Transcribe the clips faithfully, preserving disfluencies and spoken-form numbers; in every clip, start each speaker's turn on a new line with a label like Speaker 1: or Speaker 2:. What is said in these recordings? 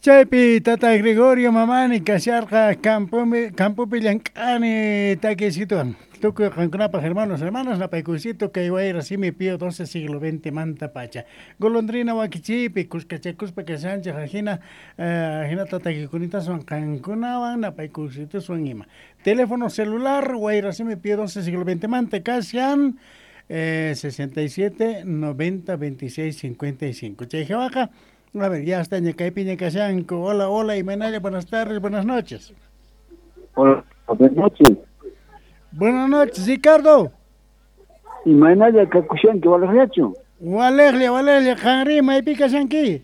Speaker 1: Chaypi tata Gregorio Mamani kasharqa campopi campopi llank'ani takiysituwan. Tukuy qankunapaq hermanos, hermanas, napaykuysito kay wayra simi Pío doce siglo veinte manta pacha. Golondrina wakichiypi kuskachakuspa kashanchik ajina ajinata takiykunataswan qankunawan napaykuysituswan ima. Teléfono celular wayra simi Pío doce siglo veinte manta kashan eh, sesenta y siete noventa veintiséis cincuenta y cinco. Chay jawaqa, a ver, ya está ñakaypiña kashanku. Hola, hola, Imanaya, buenas tardes, buenas noches.
Speaker 2: Hola, buenas noches.
Speaker 1: Buenas noches, Ricardo.
Speaker 2: Imanaya kakushanki, walejllachu.
Speaker 1: Walejlla, walejlla, qanri, maypi kashanki?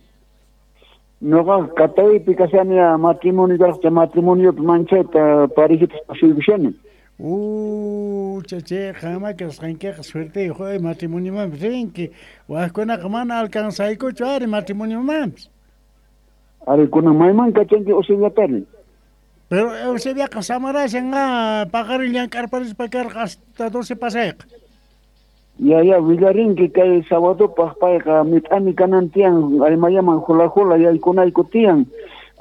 Speaker 2: Noqa Cataypi kashani, matrimonio karqa, matrimoniopi manchayta parejitas pasuykushani.
Speaker 1: Uh, chache, qanma kasqankiqa suerteyuq, matrimoniomanpis rinki. Wajkunaqa mana alcanzaykuchu ari matrimoniomanpis.
Speaker 2: Ari, kunan mayman kachanki Eusebiatari.
Speaker 1: Pero Eusebiaqa samarashan ah, paqarin llank'arparispa karqa hasta doce pasayqa.
Speaker 2: Ya, ya, willarinki kay sabadopaq payqa mit'ani kanan tiyan, aymayaman hula hula yaykunayku tiyan,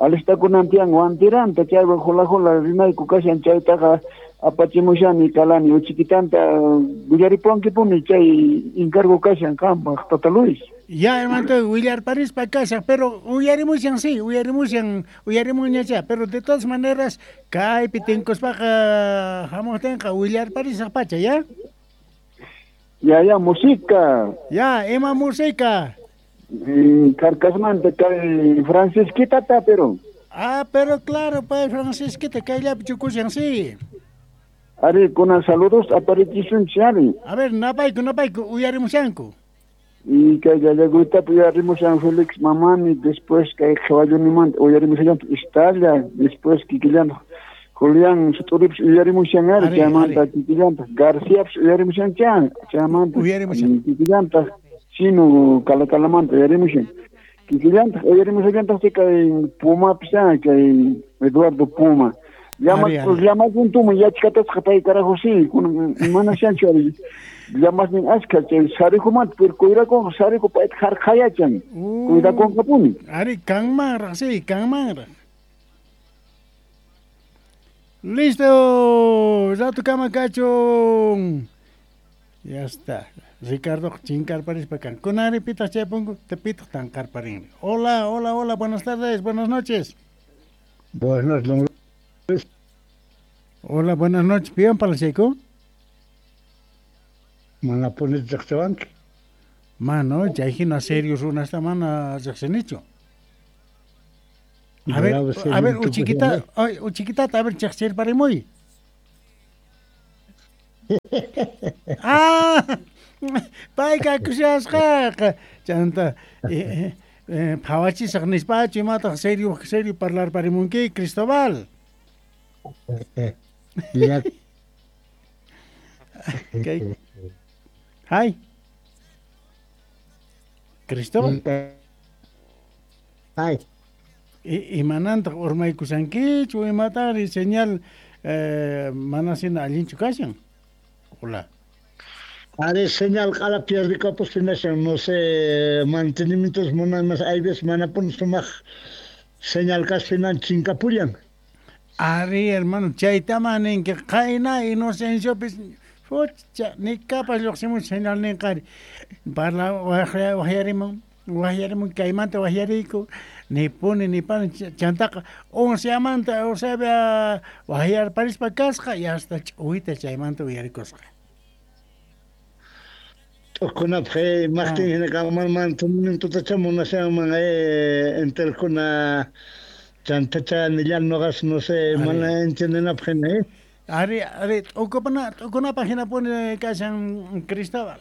Speaker 2: alistakunan tiyan wantiranta, chaywan hula hula rinayku kashan chaytaqa apachimushani kalani uchikitanta willaripuwankipuni chay encargo kashan qanpaq Tata Luis.
Speaker 1: Ya, hermano, willarparispa kashan, pero uyarimushan sí, uyarimushan, uyarimuñachá, pero de todas maneras kaypi tinkuspaqa hamuqtinqa willarparisaq pacha, ¿ya?
Speaker 2: Ya, ya, música.
Speaker 1: Ya, ima música.
Speaker 2: Mm, Carcasmanta kay Francisquitata, pero.
Speaker 1: Ah, pero claro, pues Francisquita kayllapi chukushan, sí.
Speaker 2: Ari, kuna saludos aparichisunchik ari.
Speaker 1: A ver, napayku, napayku, uyarimushanku.
Speaker 2: Y kay Gallagutapi uyarimushan Félix Mamani, después kay Qhawallunimanta uyarimushallantaj Istalla, después kikillantaq Julián Suturipis uyarimushan ari, chaymanta kikillantaq Garciapis uyarimushan chan, chaymanta
Speaker 1: uyarimushan
Speaker 2: kikillantaq Chino Calakalamanta uyarimushan. Kikillantaq uyarimushallantaq kay Pumapis kay Eduardo Puma. Llama, llamakuntuma yachkatasqa pay carajo sí, mana shanchu ari. Llamasnin ashka chay sarihumanta, pero kuyrakunqa sarihu payta harqhayachan. Kuyrakunqapuni.
Speaker 1: Ari, kanmanraq, sí, kanmanraq. Listo, rato kama kachun. Ya está. Ricardo chinkarparispa kan. Kunari pitaq chay punku, te pitaq tanqarparin. Hola, hola, hola, buenas tardes, buenas noches.
Speaker 3: Buenas noches.
Speaker 1: Hola, buenas noches. ¿Pian Palacheco?
Speaker 3: Mana pones riqsiwanki.
Speaker 1: Mano, chay hina serio runasta mana riqsinichu. A ver, a ver, uchiquita, ay, uchiquitata, a ver, chaqchirparimuy. Ah, payqa kushasqaqa. Chanta, eh, eh, phawachisaq nispachu imataq serio, serio parlarparimunki, Cristóbal.
Speaker 3: Ya.
Speaker 1: Okay. Hi. Cristóbal.
Speaker 3: Hi.
Speaker 1: Imanantaq urmaykusankichu imatari señal eh, manasina allinchu kashan. Hola.
Speaker 3: Are señal qala pierdikapustinashan, no sé, mantenimientos munan hay veces manapun sumaq señal kaspinan chinkapullan.
Speaker 1: Ari, hermano, chaytama ninki qayna Inocenciopis fucha nikapas lluqsimun señal ninqari. Parla waqyarimun, waqyarimun kaymanta waqyariyku, ni puni ni pani chantaqa onceamanta Eusebia waqyarparispa kasqa y hasta ch'uwita chaymanta uyarikusqa.
Speaker 3: T'ukunapaq maqtin hina kanman mantenimientota munashanman eh entelkuna chantacha nillan noqas no sé mana entiendenapaq hina eh.
Speaker 1: Ari, ari, t'ukupana t'ukunapaq hinapuni kashan Cristóbal.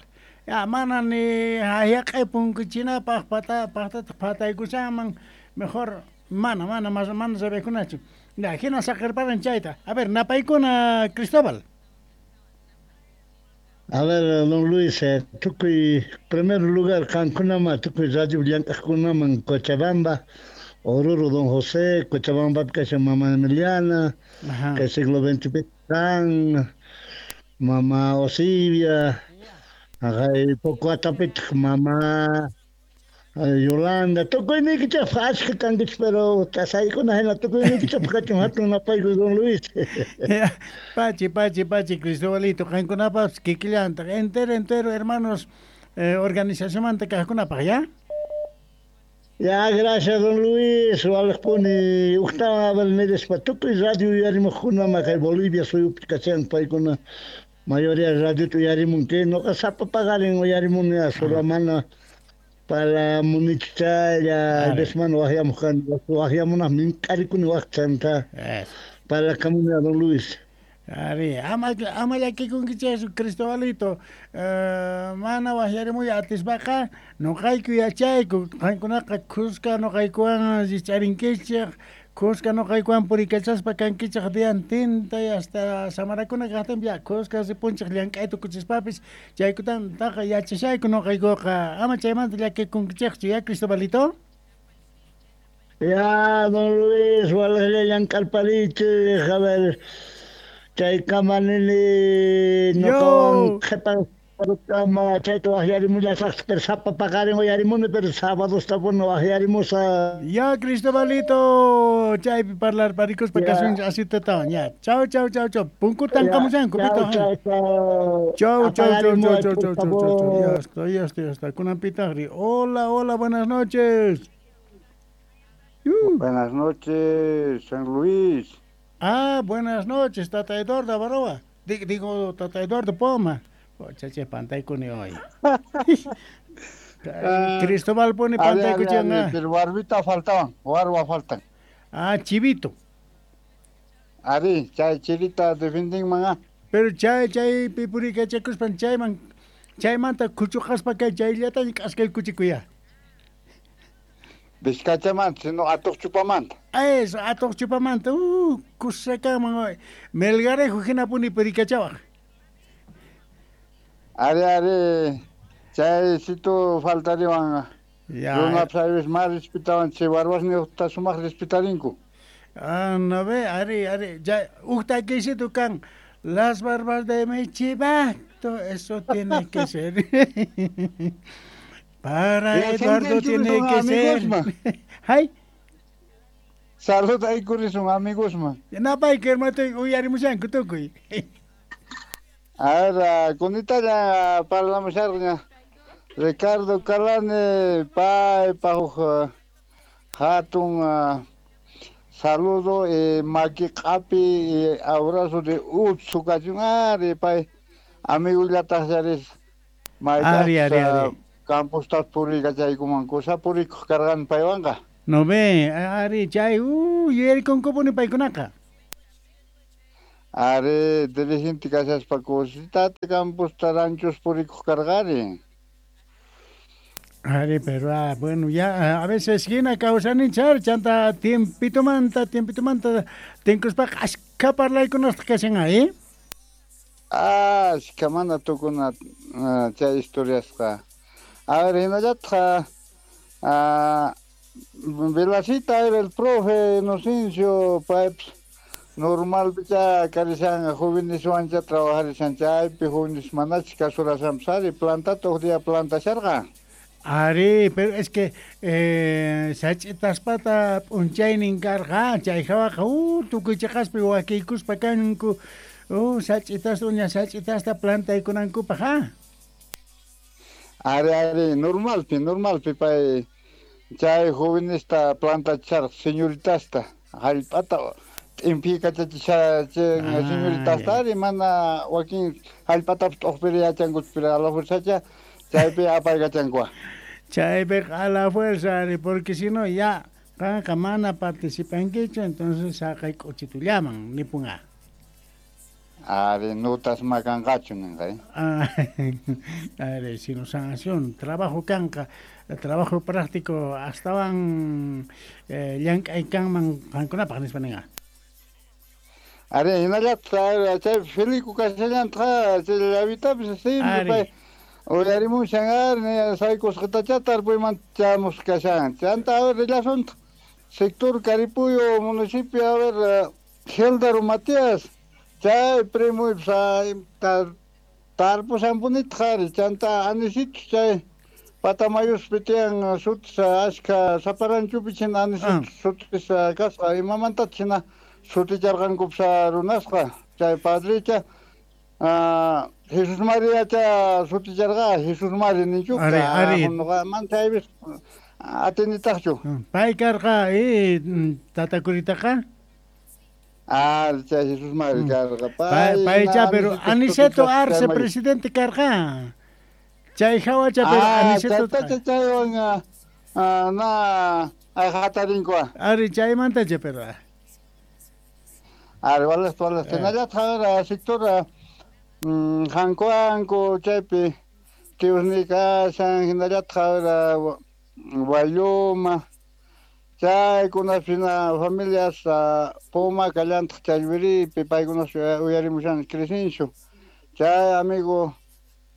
Speaker 1: Ya mana ni hayaq'ay punkuchinapaq pata paqtataq phataykushanman mejor mana mana mas mana sabikunachu. Ya hina saqirparan chayta. A ver, napaykuna Cristóbal.
Speaker 3: A ver, don Luis, eh, tukuy primer lugar qankunama tukuy radio llank'aqkunaman Cochabamba, Oruro don José, Cochabamba kashan mama Emiliana, que siglo veinte kan, mama Osibia, poco atapitaq mama Yolanda, tukuyniykichikpaq achka kankichik, pero tasaykuna hina tukuyniykichikpaq kachun hatun napaykuy don Luis.
Speaker 1: Pachi, pachi, pachi, Cristobalito, qankunapas kikillantaq, entero, entero, hermanos, eh, organizacionmanta kaqkunapaq, ¿ya?
Speaker 3: Ya, gracias, don Luis. Walaqpuni uqtawan abel tukuy radio uyarimuqkuna kay Bolivia suyupi kashan paykuna mayoría radio uyarimunki noqa sapa paqarin uyarimuni solamana para munichaya desmano waqyamuq kani waqyamunaq mink'arikuni waqchanta para kamuni don Luis.
Speaker 1: Ari, ama ama llakikunkichikchu Cristobalito, uh, mana waqyarimuy atispaqa nuqayku yachayku, qankunaqa kuska nuqaykuwan rich'arinkichik, kuska nuqaykuwan purikachaspa kankichik diantinta y hasta samarakuna kaqtinpi ya kuska ripunchik llank'ay tukuchispapis chaykutantaqa yachashayku nuqaykuqa, ama chaymanta llakikunkichikchu ya Cristobalito.
Speaker 3: Ya, don Luis, walaqlla llank'arparichik, a ver, chay kamanini noqawan qhipa kama chayta waqyarimullasaqtaq, pero sapa paqarin uyarimuni, pero sábadosta puni waqyarimusa.
Speaker 1: Ya, Cristobalito, chaypi parlarparikuspa kasunchik asitatawan, ya. Chau, chau, chau, chau. Punkutan kamushanku,
Speaker 3: pito. Chau,
Speaker 1: chau, chau, chau, chau, chau, chau, chau. Ya está, ya está, ya está. Kunanpitaqri. Hola, hola, buenas noches.
Speaker 2: Uh. Buenas noches, San Luis.
Speaker 1: Ah, buenas noches, Tata Eduardo Avaroa. Digo, Tata Eduardo Poma. Oh, chache, pantaykuni hoy. Cristóbal pone pantaykuchan.
Speaker 2: Pero barbita faltaban, barba faltan.
Speaker 1: Ah, chivito.
Speaker 2: Ari, chay chivita defending manga.
Speaker 1: Pero chay, chay, pipurika chakuspan, chayman, chaymanta kuchuqaspa kay chayllata k'askay kuchikuya.
Speaker 2: Vizcachamanta, sino atuqchupamanta.
Speaker 1: Eso, atuqchupamanta, uh, kusakaman, Melgarejo hinapuni purikachawaq.
Speaker 2: Ari, ari, chaysito faltariwan. Ya. Runap más respetawan, chay barbasniyuqta sumaq respetarinku.
Speaker 1: Ah, no ve, ari, ari, ya, uqtakisito kan, las barbas de mi chivato, eso tiene que ser. Para Eduardo tiene que ser. Ay.
Speaker 2: Salud ahí son amigos, man.
Speaker 1: Napay que hermano uyarimushanku tukuy.
Speaker 2: A ver, kunita ya parlamusharqa Ricardo Calane pay pajuq hatun saludo eh, maki q'api abrazo de utsu kachun ari pay amigullataq yaris
Speaker 1: ari ari ari
Speaker 2: camposta purikachaykuman kusa purikuq karqani paywanqa.
Speaker 1: No ve, ari chay uh yuyarikunku paykunaqa.
Speaker 2: Ari dirigente kashaspa kusitata camposta ranchos purikuq karqani.
Speaker 1: Ari, pero ah, bueno, ya a veces hina kawsaninchar chanta tiempitomanta, tiempitomanta tinkuspaqa ashka parlaykunasqa kashan ahí.
Speaker 2: Ah, ashka mana tukuna chay historiasqa. A ver, hinallatqa, ah, Velasita era el profe Inocencio, paypis normalpicha karishan jóveneswancha trabajarishan chaypi jóvenes manachis kasurashanpis ari plantata huk día plantasharqa.
Speaker 1: Ari, pero es que eh, sach'itaspata p'unchaynin karqa, chay hawaqa uh, tukuy chiqaspi wakiykuspa kanku, uh, sach'itasta uña sach'itasta plantaykunankupaq, ha.
Speaker 2: Ari, ari, normalpi, normalpi pay chay jovenesta plantachisharqa señoritasta hallp'ata t'impikachachisha señoritasta ari mana wakin hallp'atapis t'uqpiri yachankuchu pero a la fuerzacha chaypi apaykachankuqa.
Speaker 1: Chaypiqa a la fuerza, ari, porque si no ya qanqa mana participankichu, entonces saqay k'uchitullaman nipunqa.
Speaker 2: Ari, notas makanqachu ninqa.
Speaker 1: Ari, sino sanción, trabajo kanqa, trabajo práctico astawan eh, llank'ay kanman qankunapaq nispa ninqa.
Speaker 2: Ari, hinallataq chay Felico kashallantaq chay llavitapis siempre pay uyarimushan ari saykusqatacha tarpuymanta chamusqa kashan. Chanta a ver rillasunta sector Caripuyo municipio a ver Geldaro Matías chay primuypas tarpushanpunitaq ari chanta anisitos chay
Speaker 4: Patamayuspi tiyan sutis ashka saparanchupi china
Speaker 1: Ah.
Speaker 4: sutis kasqa imamanta china suticharqankupas runasqa chay padricha ah, Jesus Mariacha suticharqa Jesus Mari ninchuqa
Speaker 1: Ari, ari.
Speaker 4: nuqa man chaypis atinitaqchu
Speaker 1: Pay karqa eh, tatakuritaqa
Speaker 4: ah chay Jesus Mari karqa
Speaker 1: pay paycha pero Aniceto Arce presidente karqa chay hawacha pero
Speaker 4: ah
Speaker 1: Aniceto
Speaker 4: chaytacha chaywan ah, na ayqatarinkuqa
Speaker 1: ari chaymantacha pero
Speaker 4: Ari, walas walas hinallataq sector mm, hankuanku chaypi tiusni kashan hinallataq Waylluma chaykunapi hina familias Puma kallantaq Challwiripi paykunas uyarimushan Crescencio chay amigo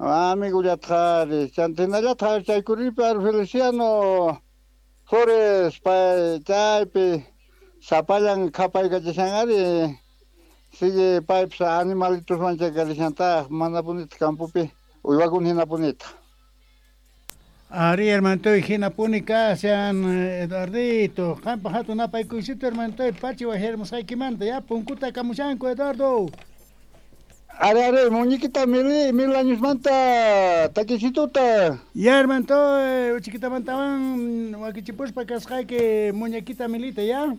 Speaker 4: amigullataq ari chanta hinallataq chaykuripi ari Feliciano Flores pay chaypi sapallan qhapaykachashan ari sigue paypis animalitoswan chakarishantaq manapunita campopi uywakuna hinapunita.
Speaker 1: Ari hermantoy hinapuni kashan Eduardito qampa hatun napaykuysito hermantoy pachi wajirmusqaykimanta ya punkuta kamushanku Eduardo.
Speaker 4: Ari ari muñequita mil mil añosmanta takisituta.
Speaker 1: Ya hermantoy uchikitamantawan wakichipuspa kasqayki muñequita milita ya.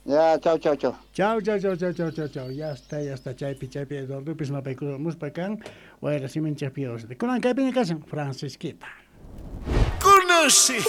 Speaker 4: Ya, chao, chao, chao.
Speaker 1: Chao, chao, chao, chao, chao, chao, chao. Ya está, ya está. Chaypi, chaypi, Eduardo, pis napaykumuspa kan. Wayra simin chaypi. Kunan kaypiña kashan Francisquita.
Speaker 5: Conoce.